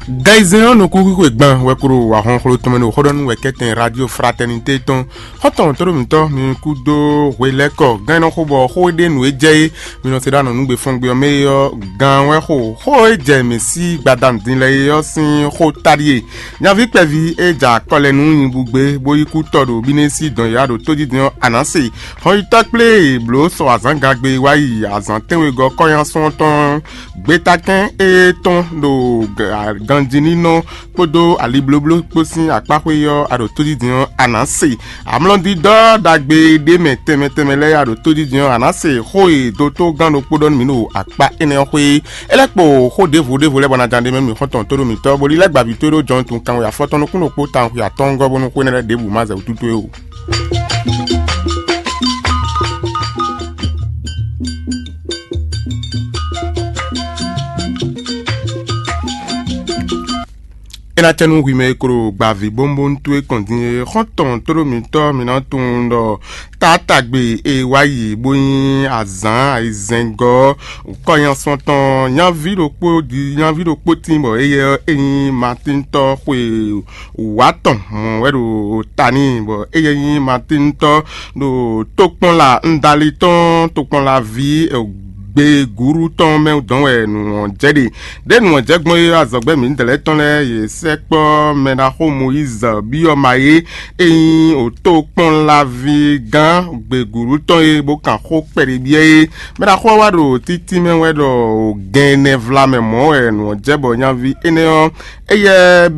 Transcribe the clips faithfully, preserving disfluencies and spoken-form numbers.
Gan ayizɛ́n ɔ́ nukúnxwixwe gban wɛ klo wa hɔnxlo tɔn mɛ ɖo xó ɖɔ nú wɛ kɛ́tɛn Radio Fraternité tɔn. Xɔ́ntɔn tóɖó mǐtɔn mi kú dó hwe lɛ́ kɔ gán e nɔ xo bɔ xó e ɖe nǔ e jɛ é mi nɔ se ɖó anɔ̌nugbe fɔ́ngbe ɔ́ mɛ é ɔ́, gan wɛ xo xó e jɛ mǐ sí gbadanu din lɛ́ɛ é ɔ́ sín xó ta ɖíe. Nyaví kpɛví e ja akɔ lɛ nú nyibúgbe bó yi kú tɔ ɖo bínɛ́ sí dɔn yǎ ɖo tójijɛ ɔ́, a nǎ se. Hɔnyitɔ́ kplé e blǒ sɔ azǎngagbe wá yi azǎn tɛ́nwegɔ́ kɔ́nyasun ɔ́ tɔn gbétakɛ́n e tɔn ɖo ganjínínɔ kpódó aliblóbló kpó sín akpáxwé ɔ́, a ɖo tójijɛ ɔ́, a nǎ se. Amlɔdídɔ́ ɖagbe ɖé mɛ tɛnmɛ tɛnmɛ lɛ́ɛ a ɖo tójijɛ ɔ́, a nǎ se xó e dótó gán ɖokpó ɖɔ nú mǐ ɖo akpá énɛ́ ɔ́ xwé. É lɛ́ kpo xó ɖěvo ɖěvo lɛ́ɛ bɔ ná ján ɖ'é mɛ mì xɔ́ntɔn tó ɖo mǐtɔn, bó lílɛ́ gbǎví towe ɖó jɔnutun kanwe afɔtɔn nukún ɖokpó tawun xwe atɔ́ɔ́ngɔ́ bónú xwé énɛ́ lɛ́ɛ ɖěbǔ má zɛ wútu towe ó. É ná cɛ nú hwi mɛ e klo gbǎví bónbónú towe kɔn din é, xɔ́ntɔn tóɖó mǐtɔn mǐ ná tunwun ɖɔ tátágbe e wá yi bó nyí azǎn ayizɛ́ngɔ́ kɔ́nyasun tɔn nyaví ɖokpó jí nyaví ɖokpó tín bɔ éyɛ́ é nyí Matíntɔ́ xwe wǎ tɔn mɔ̌ wɛ ɖo ta n'i, bɔ éyɛ́ nyí Matíntɔ́ ɖo tokpɔnla Ndali tɔn tokpɔnlaví gbegúɖú tɔn mɛ dɔn wɛ nǔ ɔ́ jɛ ɖe. Ɖěe nǔ ɔ́ jɛ gbɔn é, azɔ̌gbɛ́ mǐdɛɛ lɛ́ɛ tɔn lɛ́ɛ yě sɛkpɔ́ mɛɖaxó Mɔyízi byɔ́ ma é, é nyí òtókpɔ́nlaví gán gbegǔɖú tɔn e bó kan xó kpɛɖé byɔ́ é. Mɛɖaxó ɔ́ wá ɖo títí mɛ wɛ ɖɔ gɛn ɛnɛ vlamɛ mɔ̌ wɛ nǔ ɔ́ jɛ bɔ nyaví énɛ́ ɔ́, éyɛ́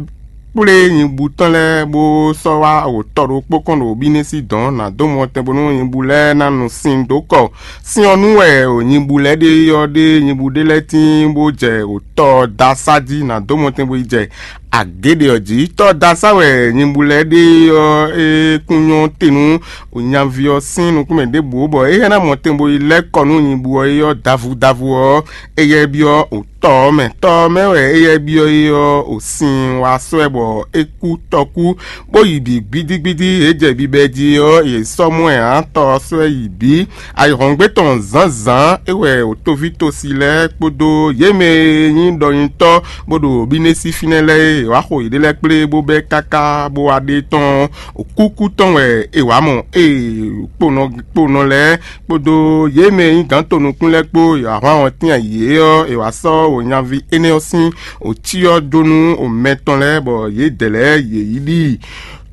kplé nyibú tɔn lɛ́ɛ bó sɔ́ wá wǒtɔ ɖokpó kɔn ɖo bínɛ́ sí dɔ̌n ná dó mɔtɛn bónú nyibú lɛ́ɛ ná nu sin dó kɔ. Sin ɔ́ nú wɛ nyibú lɛ́ɛ ɖe ɔ́ ɖe nyibú ɖé lɛ́ɛ tíin bó jɛ wǒtɔ da sá jí ná dó mɔtɛn bó yi jɛ agě ɖé ɔ́ jí. Tɔ́ da sá wɛ nyibú lɛ́ɛ ɖe ɔ́ é kún nyɔ́ te nú nyaví ɔ́ sín nukúnmɛ ɖěbǔ bɔ é hɛn ná mɔtɛn bó yi lɛ́ kɔ nú nyibú ɔ́ é ɔ́ davu davu ɔ́, éyɛ́ byɔ́ tɔ ɔ́ mɛ. Tɔ ɔ́ mɛ wɛ éyɛ́ byɔ́ é ɔ́, o sin wá sɔ́ ɛ bɔ é kú tɔkú, bó yi bǐ gbídígbídí, é jɛ bibɛ jí ɔ́, yě sɔ́ mɔ ɛ ǎ, tɔ ɔ́ sɔ́ ɛ yi bǐ. Ayǐhɔ́ngbe tɔn zǎnzǎn é wɛ o tóví tosi lɛ́ɛ kpódó yě mɛ e nyí ɖɔnyitɔ́ bó ɖo bínɛ́ sí fínɛ́ lɛ́ɛ é, è wǎ xo yěɖée lɛ́ɛ kplé bó bɛ́ káká bó wá ɖe tɔn. Kúkú tɔn wɛ è wǎ mɔ ée kponɔ kponɔ lɛ́ɛ kpódó yě mɛ e nyí gǎn tonukún lɛ́ɛ kpó e ahwan ɔ́ tɛ́n ayǐ é ɔ́, è wǎ sɔ́ wǒnyaví énɛ́ ɔ́ sín wǒcyɔ́ dó nú mɛ tɔn lɛ́ɛ, bɔ yědɛɛ lɛ́ɛ yě yi ɖi.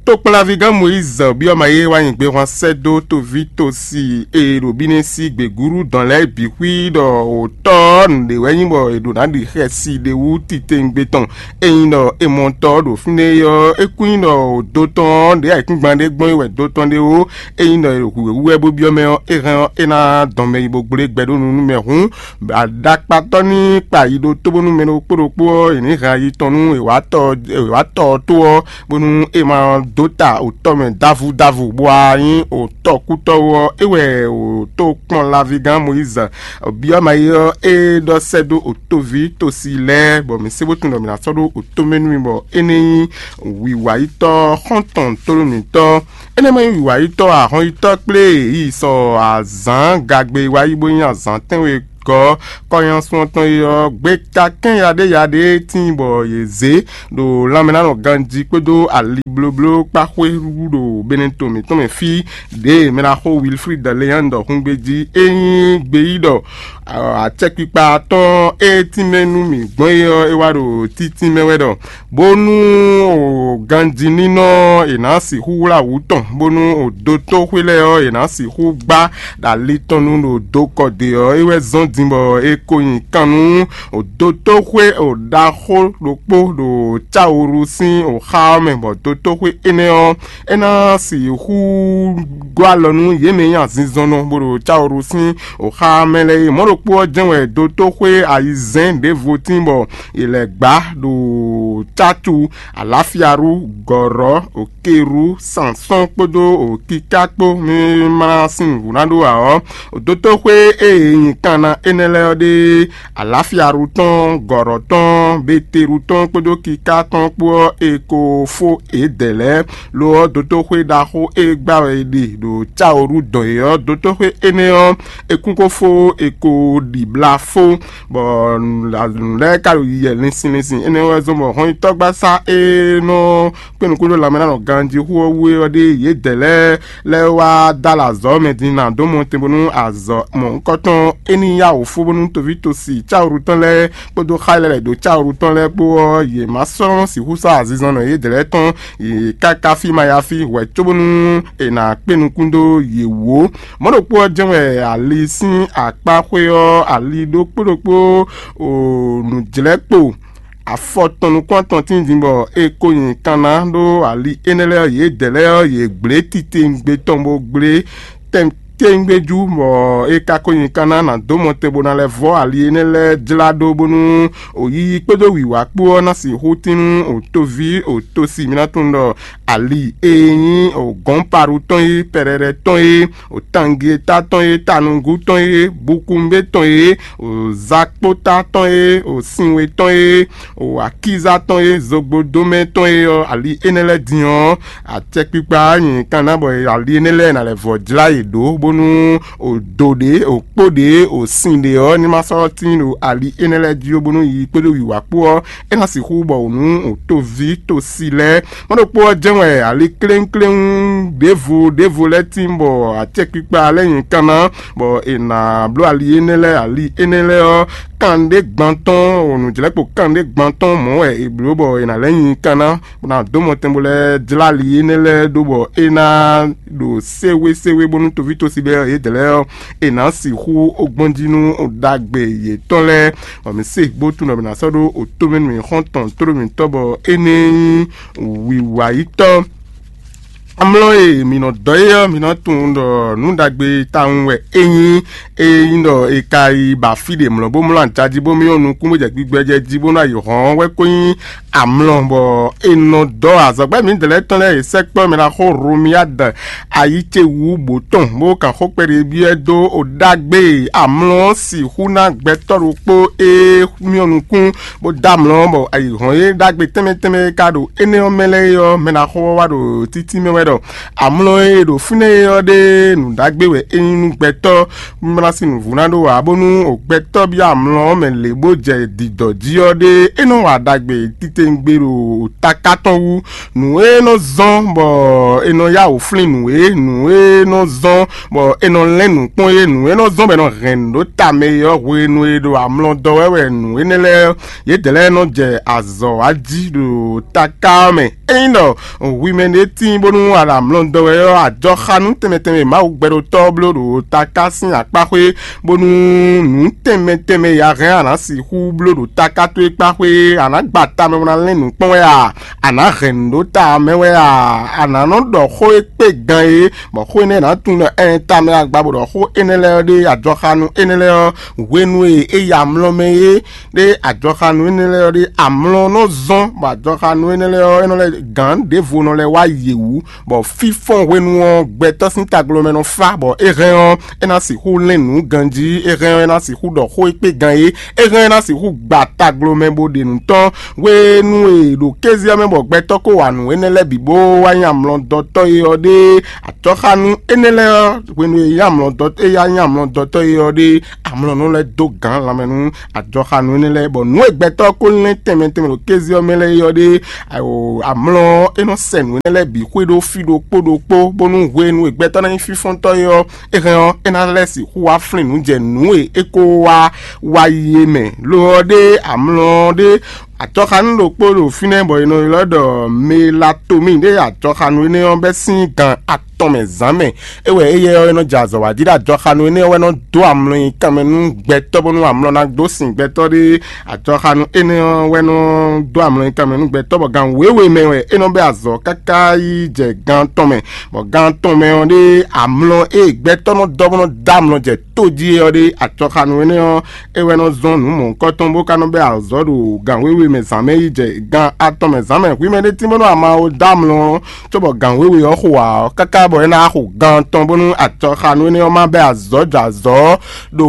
Tokpɔnlaví gán Mɔyízi byɔ́ ma yé wá nyi gbehwan sɛ́ dó toví tosi e ɖo bínɛ́ sí gběgúɖú dɔn lɛ́ɛ bǐ xwí ɖɔ wǒtɔ́ ɔ́ nǔɖé wɛ nyí bɔ è ɖǒ ná ɖi xɛsi ɖé wú titewungbe tɔn. Ényí ɖɔ è mɔ tɔ ɔ́ ɖo fínɛ́ é ɔ́, é kún nyí ɖɔ wǒ dó tɔn ɔ́ ɖě ayǐkúngban ɖé gbɔn é wɛ dó tɔn ɖé ó. Ényí ɖɔ è ɖo hǔhwɛ́hú wɛ bó byɔ́ mɛ ɔ́, é hɛn ɔ́, é ná dɔn mɛ yi bó gblé gbɛ ɖó nu nú mɛ hǔn, aɖakpatɔ́ ní kpa yi ɖó tó bónú mɛ ɖokpó ɖokpó ɔ́, è nǐ hɛn ayi tɔn nú è wǎ tɔ è wǎ tɔ ɔ́ tó ɔ́, bónú é ma dó ta wǒtɔ́ mɛ davu davu, bó wá nyí wǒtɔ́kútɔ́ ó ɔ́, é wɛ wǒtó kplɔ́nlaví gán Mɔyízi byɔ́ ma yi ɔ́, é ɖɔ sɛ́ dó wǒtóví tosi lɛ́ɛ, bɔ mǐ sé bó tunwun ɖɔ mǐ ná sɔ́ ɖó wǒtó mɛ nú mi, bɔ é ní nyí wǐwayítɔ́ xɔ́ntɔn tónú mǐtɔn. Énɛ́ mɛ nyí wǐwayítɔ́ ahɔnyitɔ́ kplé yi sɔ azǎn gagbe wá yi bó nyí azǎn tɛ́nwe gɔ́ kɔnyasun ɔ́ tɔn yi ɔ́, gbeta kɛ́n yaɖé yaɖé tíin bɔ yě zě ɖo lanmɛnánɔ ganjí kpódó ali blóbló kpá xwé ɖo Benɛto mǐtɔn mɛ fí ɖě mɛ ná xo Wilfrid Leandre xungbe jí. É nyí gbeyíɖɔ acɛkpikpa tɔn e tínmɛ nú mǐ gbɔn é ɔ́, é wá ɖo títínmɛ wɛ ɖɔ bónú o ganjí nínɔ è nǎ sixú wlá wǔ tɔn, bónú o dótóxwé lɛ́ɛ ɔ́, è nǎ sixú gbá ɖo ali tɔn nu ɖo dokɔ ɖe ɔ́, é wɛ zɔ́n din bɔ è ko nyi kan nú o dótóxwé o ɖaxó ɖokpó ɖo cáwuru sín o xá ɔ́ mɛ, bɔ dótóxwé énɛ́ ɔ́, é ná sixú gɔ́ alɔ nú yě mɛ e nyí azinzɔnnɔ bó ɖo cáwuru sín o xá mɛ lɛ́ɛ é. Mɔ̌ ɖokpó ɔ́ jɛ́n wɛ dótóxwé ayizɛ́n ɖěvo tín bɔ è lɛ̌ gbá ɖo cácu, alǎfiaɖu, gɔ̌rɔ́, òkeɖu, sansɔ́n kpódó òkiká kpó mí ma sín nǔvú ná ɖó ǎ ɔ́, dótóxwé e è nyi kan ná énɛ́ lɛ́ɛ ɔ́ ɖe, aláfiaɖu tɔn, gɔ̌ɖɔ tɔn, beteɖu tɔn kpódó kiká tɔn kpó ɔ́, è ko fó yědɛɛ lɛ́ɛ. Lo ɔ́, dotóxwé ɖaxó e gbá wɛ è ɖe ɖo cáwoɖu dɔn é ɔ́, dotóxwé énɛ́ ɔ́, è kún ko fó, è ko ɖi bla fó, bɔ nǔ lɛ́ɛ ka ɖo yiyɛ linsin linsin. Énɛ́ wɛ zɔ́n bɔ hɔnnyitɔ́gbasá e nɔ kpé nukún ɖó lanmɛ ná nɔ ganjí xú ɔ́ wú é ɔ́ ɖe yědɛɛ lɛ́ɛ lɛ́ɛ wá dó alɔ azɔ̌ mɛ din ná dó mɔ tɛn bónú azɔ̌ mɔ̌hunkɔtɔn é ní yá wǒ fó bónú toví tosi cáwǔɖu tɔn lɛ́ɛ kpódó xá lɛ́ɛ lɛ̌ dó cáwǔɖu tɔn lɛ́ɛ kpó ɔ́, yě má sɔ́ sixú sɔ́ azinzɔnnɔ yědɛɛ lɛ́ɛ tɔn, yě káká fí ma yá fí hwɛ̌ cóbónú è nǎ kpé nukún dó yě wú ó. Mɔ̌ ɖokpó ɔ́ jɛ́n wɛ ali sín akpá xwé ɔ́, ali ɖokpó ɖokpó o nǔjlɛ́kpo afɔ tɔn nukún atɔn tíin din bɔ è ko nyi kan ná ɖó ali énɛ́ lɛ́ɛ ɔ́, yědɛɛ lɛ́ɛ ɔ́, yě gblě titewungbe tɔn bó gblé tɛn tewungbe jú, bɔ é ka ko nyi kan ná ná dó mɔ tɛn bó ná lɛ́ vɔ́ ali énɛ́ lɛ́ɛ jlá ɖó bónú o yiyi kpódó wǐwá kpó ɔ́ ná sixú tín nú o toví o tosi mǐ ná tunwun ɖɔ ali e nyí o gɔ̌npaɖu tɔn e, pɛɖɛɖɛ tɔn e, o tangeta tɔn e, tanugú tɔn e, bukunbé tɔn e, o zakpóta tɔn e, o sinwe tɔn e, o akíza tɔn e, zogbodomɛ tɔn e ɔ́, ali énɛ́ lɛ́ɛ din ɔ́, acɛkpikpa nyi kan ná bɔ ali énɛ́ lɛ́ɛ ná lɛ́ vɔ jlá yě ɖó, bónú o do ɖě, o kpó ɖě, o sin ɖě ɔ́, ní ma sɔ́ tín ɖo ali énɛ́ lɛ́ɛ jí ó, bónú yi kpódó wǐwá kpó ɔ́, é ná sixú bɔ wǔ nú o toví tosi lɛ́ɛ. Mɔ̌ ɖokpó ɔ́ jɛ́n wɛ ali kléŋkléŋ ɖěvo ɖěvo lɛ́ɛ tíin bɔ acɛkpikpa lɛ́ɛ nyi kan ná, bɔ è nǎ bló ali énɛ́ lɛ́ɛ, ali énɛ́ lɛ́ɛ ɔ́, kanɖé gbantɔ́n, nǔjlɛ́kpo kanɖé gbantɔ́n mɔ̌ wɛ è blǒ bɔ è nǎ lɛ́ nyi kan ná, bó ná dó mɔtɛn bó lɛ́ jlá ali énɛ́ lɛ́ɛ ɖó bɔ é ná ɖo séwéséwé bónú toví tosi lɛ́ɛ yědɛɛ lɛ́ɛ ɔ́, è nǎ sixú ó gbɔn jí nú ɖagbe yětɔn lɛ́ɛ. Bɔ mǐ se bó tunwun ɖɔ mǐ ná sɔ́ ɖó otómɛnu mǐxɔ́ntɔn tlóló mǐtɔn bɔ énɛ́ nyí wǐwayítɔ́. Amlɔ e mǐ nɔ dɔ é ɔ́, mǐ nɔ tunwun ɖɔ nǔ ɖagbe tawun wɛ é nyí. Ényí ɖɔ è ka yi ba fí ɖě mlɔ́ bó mlɔ́ ajají bó myɔ́ nukún bó jɛ gbigbɛ jɛ jí bó ná yi hɔn ɔ́ wɛ ko nyí amlɔ, bɔ è nɔ dɔ azɔ̌gbɛ́ mǐdɛɛ lɛ́ɛ tɔn lɛ́ɛ e sɛkpɔ́ mɛ ná xo Hlomiyád ayi ce wú bǒ tɔn, bó kan xó kpɛɖé byɔ́ ɛ dó o ɖagbe e amlɔ ɔ́ sixú ná gbɛtɔ́ ɖokpó e myɔ́ nukún bó dó amlɔ ɔ́, bɔ ayǐhɔ́n e ɖagbe tɛnmɛ tɛnmɛ e ka ɖo énɛ́ ɔ́ mɛ lɛ́ɛ é ɔ́, mɛ ná xo ɔ́ wá ɖo títí mɛ wɛ ɖɔ amlɔ e ɖo fínɛ́ é ɔ́ ɖe nǔ ɖagbe wɛ é nyí nú gbɛtɔ́, bó ná sín nǔvú ná ɖó ǎ, bónú gbɛtɔ́ byɔ́ amlɔ ɔ́ mɛ lě bó jɛ dǐdɔ̌ jí ɔ́ ɖe, é nɔ wa ɖagbe titewungbe ɖo taká tɔn wú. Nǔ e nɔ zɔ́n bɔ è nɔ yá wǔ flín nǔ é, nǔ e nɔ zɔ́n bɔ è nɔ lɛ́n nǔ kpɔ́n é, nǔ e nɔ zɔ́n bɔ è nɔ hɛn nǔ ɖó ta mɛ é ɔ́, hwenu e ɖo amlɔ dɔ wɛ wɛ nǔ énɛ́ lɛ́ɛ yědɛɛ lɛ́ɛ nɔ jɛ azɔ̌ wa jí ɖo taká ɔ́ mɛ. Ényí ɖɔ hwi mɛ ɖé tíin bónú a ɖo amlɔ dɔ wɛ ɔ́, ajɔxánú tɛnmɛ tɛnmɛ e Mawu gbɛɖotɔ́ ɔ́ bló ɖo taká sín akpá xwé, bónú nǔ tɛnmɛ tɛnmɛ e a hɛn a nǎ sixú bló ɖo taká towe kpá xwé, a nǎ gba tamɛ bó ná lɛ́n nǔ kpɔ́n wɛ a? A nǎ hɛn nǔ ɖó ta mɛ wɛ a? A nǎ nɔ ɖɔ xó e kpé gan é, bɔ xó énɛ́ ná tunwun ɖɔ ɛn tamɛ agba bó ɖɔ xó énɛ́ lɛ́ɛ ɔ́ ɖe ajɔxánú énɛ́ lɛ́ɛ ɔ́, hwenu e é yi amlɔ mɛ é ɖe ajɔxánú énɛ́ lɛ́ɛ ɔ́ ɖe amlɔ nɔ zɔ́n, bɔ ajɔxánú énɛ́ lɛ́ɛ ɔ́, é nɔ lɛ́ gǎn ɖěvo nɔ lɛ́ wá yě wú, bɔ fínfɔ́n hwenu ɔ́ gbɛtɔ́ sín taglo mɛ nɔ fá, bɔ é hɛn ɔ́, é ná sixú lɛ́n nǔ ganjí, é hɛn ɔ́, é ná sixú ɖɔ xó e kpé gan é, é hɛn ɔ́, é ná sixú gba taglo mɛ bó ɖe nǔ tɔn. Hwenu e è ɖo kéze ɔ́ mɛ bɔ gbɛtɔ́ ko wa nǔ énɛ́ lɛ́ɛ bǐ bó wá nyí amlɔdɔtɔ́ é ɔ́ ɖe, ajɔxánú énɛ́ lɛ́ɛ ɔ́, hwenu e é nyí amlɔdɔtɔ́ é yá nyí amlɔdɔtɔ́ é ɔ́ ɖe, amlɔ nɔ lɛ́ dó gǎn lanmɛ nú ajɔxánú énɛ́ lɛ́ɛ, bɔ nǔ e gbɛtɔ́ ko lɛ́n tɛnmɛ tɛnmɛ ɖo kéze ɔ́ mɛ lɛ́ɛ é ɔ́ ɖe, amlɔ ɔ́, é nɔ sɛ nǔ énɛ́ lɛ́ɛ bǐ xwé ɖó fí ɖokpó ɖokpó, bónú hwenu e gbɛtɔ́ ná nyí fínfɔ́ntɔ́ é ɔ́, é hɛn ɔ́, é ná lɛ́ sixú wá flín nǔ jɛ nǔ e é ko wá wa yi é mɛ. Lo ɔ́ ɖe amlɔ ɔ́ ɖe ajɔxánú ɖokpó ɖo fínɛ́ bɔ è nɔ ylɔ́ ɖɔ melatomíi ɖe ajɔxánú énɛ́ ɔ́ bɛ́ sín gan atɔn mɛ zǎn mɛ. É wɛ éyɛ́ ɔ́ é nɔ jɛ azɔ̌ wa jí ɖo ajɔxánú énɛ́ ɔ́ wɛ nɔ dó amlɔ nyi kanmɛ nú gbɛtɔ́ bónú amlɔ ná dó sin gbɛtɔ́ ɖé. Ajɔxánú énɛ́ ɔ́ wɛ nɔ dó amlɔ nyi kanmɛ nú gbɛtɔ́ bɔ gan wěwe mɛ wɛ é nɔ bɛ́ azɔ̌ káká yi jɛ gan tɔn mɛ, bɔ gan tɔn mɛ ɔ́ ɖe amlɔ e gbɛtɔ́ nɔ dɔ́ bó nɔ dó amlɔ jɛ tó jí é ɔ́ ɖe ajɔxánú énɛ́ ɔ́, é wɛ nɔ zɔ́n nǔ mɔ̌hunkɔtɔn bó ka nɔ bɛ́ azɔ̌ ɖo gan wéwe mɛ zǎn mɛ yi jɛ gan atɔn mɛ zǎn mɛ hwi mɛ ɖé tín bónú ama ó dó amlɔ, cóbɔ gan wěwe ɔ́ xo ǎ ɔ́, káká bɔ é ná xo gan atɔn bónú acɔxanu énɛ́ ɔ́ má bɛ́ azɔ̌ jɔ azɔ̌ ɖo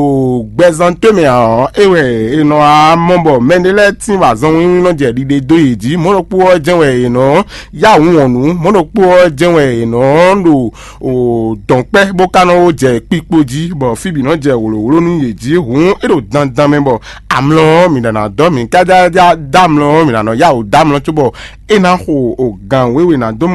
gbɛzán towe mɛ ǎ ɔ́, é wɛ è nɔ wá mɔ bɔ mɛɖé lɛ́ɛ tín bɔ azɔn wínwín nɔ jɛ ɖiɖe dó yě jí. Mɔ̌ ɖokpó ɔ́ jɛ́n wɛ è nɔ yá wǔ wɔn nǔ, mɔ̌ ɖokpó ɔ́ jɛ́n wɛ è nɔ ɖo dɔ̌nkpɛ́ bó ka nɔ jɛ kpikpo jí, bɔ fí bǐ nɔ jɛ wlǒwló nú yě jí. Hǔn é ɖo dandan mɛ bɔ amlɔ ɔ́, mǐ ɖǎ ná dɔ́ mǐ kájájá dó amlɔ ɔ́, mǐ ná nɔ yá wǔ dó amlɔ cóbɔ é ná xo o gǎn wěwe ná dó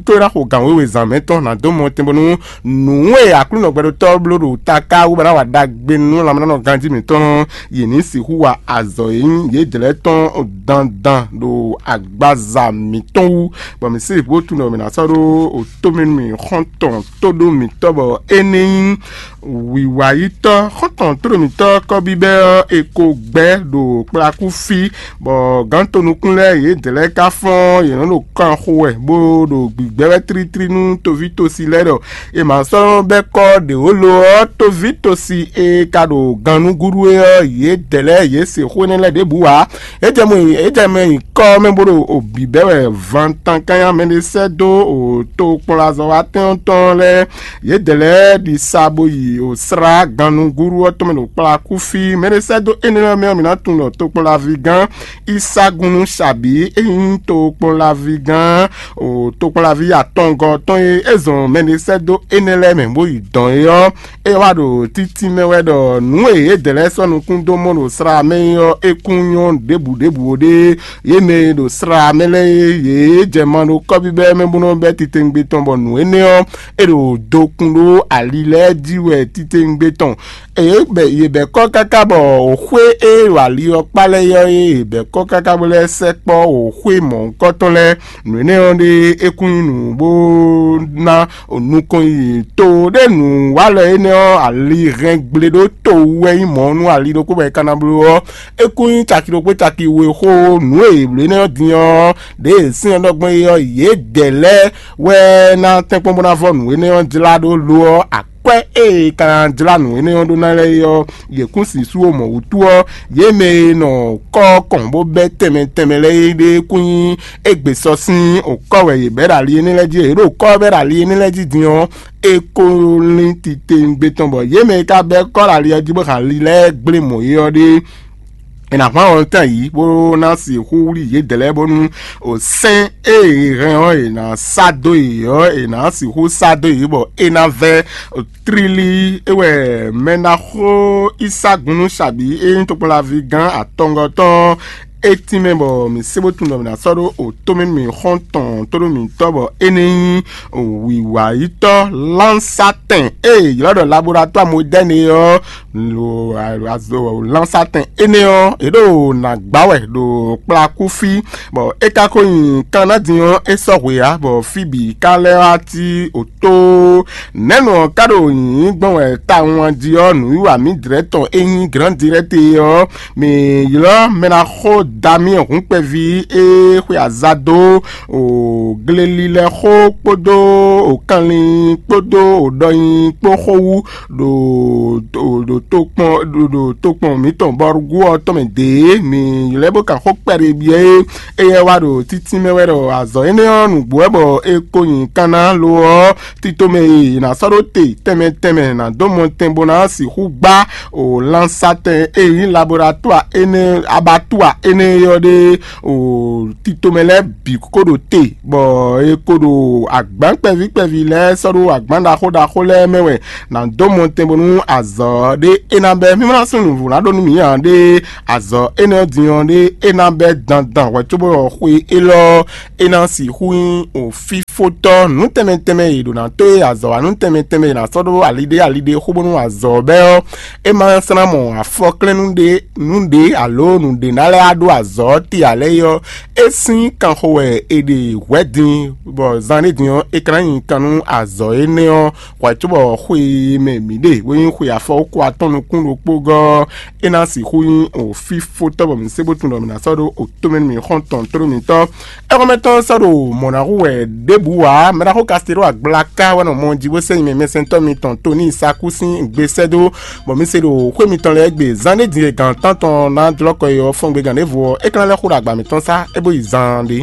tó é ná xo gǎn wěwe zǎn mɛ tɔn ná dó mɔ tɛn bónú nǔ e Aklúnɔ gbɛɖotɔ́ bló ɖo taká wú bɔ é ná wa ɖagbe nú lanmɛnánɔ ganjí mǐtɔn ɔ́, yě ní sixú wa azɔ̌ e nyí yědɛɛ lɛ́ɛ tɔn dandan ɖo agbaza mǐtɔn wú, bɔ mǐ sí bó tunwun ɖɔ mǐ ná sɔ́ ɖó o tómɛnú mǐ xɔ́ntɔn tóɖó mǐtɔn bɔ é ní nyí wǐwayítɔ́ xɔ́ntɔn tóɖó mǐtɔn kɔ́bíbɛ́ ɔ́, è ko gbɛ́ ɖo kplakú fí, bɔ gǎn tonukún lɛ́ɛ yědɛɛ lɛ́ɛ ka fɔ́n yě nɔ ɖo kan xo wɛ bó ɖo gbǐgbɛ́ wɛ tlítlí nú toví tosi lɛ́ɛ ɖɔ è ma sɔ́ bɛ́ kɔ́ ɖě ó lo ɔ́, toví tosi e ka ɖo gannúgúɖú é ɔ́, yědɛɛ lɛ́ɛ yě se xó énɛ́ lɛ́ɛ ɖěbǔ ǎ. É jɛ mɔ é jɛ mɛ nyǐkɔ mɛ bó ɖo o bǐbɛ́ wɛ vantan kányá mɛ ɖé sɛ́ dó o tokpɔnlazɔ́watɛ́n ɔ́ tɔn lɛ́ɛ. Yědɛɛ lɛ́ɛ ɖi sa bó yi o slá gannúgúɖú ɔ́ tɔn mɛ ɖo kplakú fí. Mɛ ɖé sɛ́ dó énɛ́ lɛ́ɛ mɛ ɔ́, mǐ ná tunwun ɖɔ tokpɔnlaví gán Isagunnu Sabǐ e nyí tokpɔnlaví gán o tokpɔnlaví atɔngɔ́ tɔn e é zɔn mɛ ɖé sɛ́ dó énɛ́ lɛ́ɛ mɛ bó yi dɔn é ɔ́, é wá ɖo títí mɛ wɛ ɖɔ nǔ e yědɛɛ lɛ́ɛ sɔ́ nukún dó mɔ ɖo slá mɛ é ɔ́, é kún nyɔ́ ɖěbǔ ɖěbǔ ó ɖé. Yě mɛ e ɖo slá mɛ lɛ́ɛ é, yě jɛ ma ɖo kɔ́bíbɛ́ mɛ bó nɔ́ bɛ́ titewungbe tɔn, bɔ nǔ énɛ́ ɔ́, é ɖo dokun ɖó ali lɛ́ɛ jí wɛ titewungbe tɔn. Eye bɛ yě bɛ̌ kɔ́ káká bɔ xwé e ɖo ali ɔ́ kpá lɛ́ɛ ɔ́, eye yě bɛ̌ kɔ́ káká bó lɛ́ sɛkpɔ́ xwé mɔ̌hunkɔtɔn lɛ́ɛ. Nǔ énɛ́ ɔ́ ɖe é kún nyí nǔ bó ná nukɔn yi to ɖé nǔ wa lɛ énɛ́ ɔ́, ali hɛn gble ɖó to wú wɛ nyí mɔ̌ nú ali ɖokpó bɔ è ka ná bló ɔ́, é kún nyí caki ɖokpó caki we xó. Nǔ e yě bló énɛ́ ɔ́ din ɔ́, ɖěe sɛ́n ɔ́ ɖɔ gbɔn é ɔ́, yědɛɛ lɛ́ɛ wɛ ná tɛ́nkpɔ́n bó ná vɔ́ nǔ énɛ́ ɔ́ jlá ɖó lo ɔ́, akwɛ́ e è ka ná jlá nǔ énɛ́ ɔ́ ɖó ná lɛ́ɛ é ɔ́, yě kún si sú wo mɔ̌ wútu ɔ́, yě mɛ e nɔ kɔ́ kɔn bó bɛ́ tɛnmɛ tɛnmɛ lɛ́ɛ é ɖe kún nyí égbé sɔ́ sín okɔ́ wɛ yě bɛ́ ɖo ali énɛ́ lɛ́ɛ jí. Yě ɖo kɔ́ bɛ́ ɖo ali énɛ́ lɛ́ɛ jí din ɔ́, é ko lín titewungbe tɔn bɔ yě mɛ e ka bɛ́ kɔ́ ɖo ali ɔ́ jí bó hɛn ali lɛ́ɛ gblé mɔ̌ é ɔ́ ɖe. È nǎ hwan wɔ̌ntɛn yǐ bó ná sixú wlí yědɛɛ lɛ́ɛ bónú o sɛ́n e è hɛn ɔ́, è nǎ sá dó yě ɔ́, è nǎ sixú sá dó yě bɔ é ná vɛ́. Tlílí é wɛ mɛ ná xó Isagunnu Sabǐ e nyí tokpɔnlaví gán atɔngɔ́ tɔn é tínmɛ bɔ mǐ sé bó tunwun ɖɔ mǐ ná sɔ́ ɖó o tómɛ mǐ xɔ́n tɔn tóɖó mǐtɔn bɔ é ní nyí wǐwayítɔ́ lánsátɛn e è ylɔ́ ɖɔ labolatwaa modɛ́ni é ɔ́, lo azo lánsátɛn énɛ́ ɔ́, yě ɖo nǎ gbá wɛ ɖo kplakú fí, bɔ é ka ko nyi kan ná din ɔ́, é sɔ́ hwe ǎ, bɔ fí bǐ ka lɛ́ wá cí òtó. Nɛ̌nu ɔ́ ka ɖo nyǐnyí gbɔn wɛ tawun jí ɔ́, nǔwiwa mǐdrɛ́ tɔn e nyí Grǎndirɛ́te ɔ́, mǐ ylɔ́ mɛ ná xo Damiyɛn hun kpɛví e xwe aza dó o glelilɛxó kpódó o kanlin kpódó o ɖɔnyi kpó xó wú ɖo ɖo tokpɔn ɖo tokpɔn mǐtɔn bɔrúgu ɔ́ tɔn mɛ dě. Mǐ ylɔ́ bó kan xó kpɛɖé byɔ́ é. Éyɛ́ wá ɖo títí mɛ wɛ ɖɔ azɔ̌ énɛ́ ɔ́ nǔgbó wɛ bɔ é ko nyi kanna lo ɔ́, tito mɛ e è nǎ sɔ́ ɖó te tɛnmɛ tɛnmɛ è nǎ dó mɔtɛn bó ná sixú gbá o lansatɛn e nyí labolatwaa énɛ́ abattoir énɛ́ ɔ́ ɖe o tito mɛ lɛ́ɛ bǐ kó ɖo te, bɔ è ko ɖo agbǎn kpɛví kpɛví lɛ́ɛ sɔ́ ɖó agbǎn ɖaxó ɖaxó lɛ́ɛ mɛ wɛ nǎ dó mɔtɛn bónú azɔ̌ ɖé é ná bɛ́. Mí ma ná sú nǔvú ná ɖó nú mǐ ǎ ɖé, azɔ̌ énɛ́ ɔ́ din ɔ́ ɖé é ná bɛ́ dandan hwɛ cóbɔ xwe élɔ́ é ná sixú nyí o fífótɔ́ nǔ tɛnmɛ tɛnmɛ e è ɖǒ ná tó e azɔ̌ wa nǔ tɛnmɛ tɛnmɛ e è nǎ sɔ́ ɖó aliɖé aliɖé xó bónú azɔ̌ bɛ́ ɔ́, é ma sɔ́ ná mɔ afɔklɛ́nnú ɖé nǔɖé alo nǔɖé ná lɛ́ wá ɖó azɔ̌ te ǎ lɛ́ɛ é ɔ́, é sín kanxo wɛ è ɖe hwɛ̌ din, bɔ zan ɖé din ɔ́, é ka ná nyi kan nú azɔ̌ énɛ́ ɔ́ hwɛ̌ cóbɔ xwe e mɛ mǐ ɖe, bó nyí xwe afɔwúkɔ atɔ́ nukún ɖokpó gɔ́ ɔ́, é ná sixú nyí o fífótɔ́ bɔ mǐ sé bó tunwun ɖɔ mǐ ná sɔ́ ɖó o tómɛ nú mǐ xɔ́ntɔn tló mǐtɔn. Éxɔ́mɛtɔ́ sɔ́ ɖo mɔ̌ ná hu wɛ ɖěbǔ Bu ǎ, mɛɖaxó Kastelo Agblaka wɛ nɔ mɔ jí bó sɛ́ nyi mɛ mɛsɛntɔ́ mitɔn Toni Saku sín gbe sɛ́ dó, bɔ mi se ɖo xwé mitɔn lɛ́ɛ gbe. Zan ɖé din e gǎn tántɔn ná dlɔ́ kɔ é ɔ́, fɔ́n gbe gǎn ɖěvo ɔ́, é ka ná lɛ́ xo ɖo agba mǐtɔn sá, é bó yi zaan ɖé.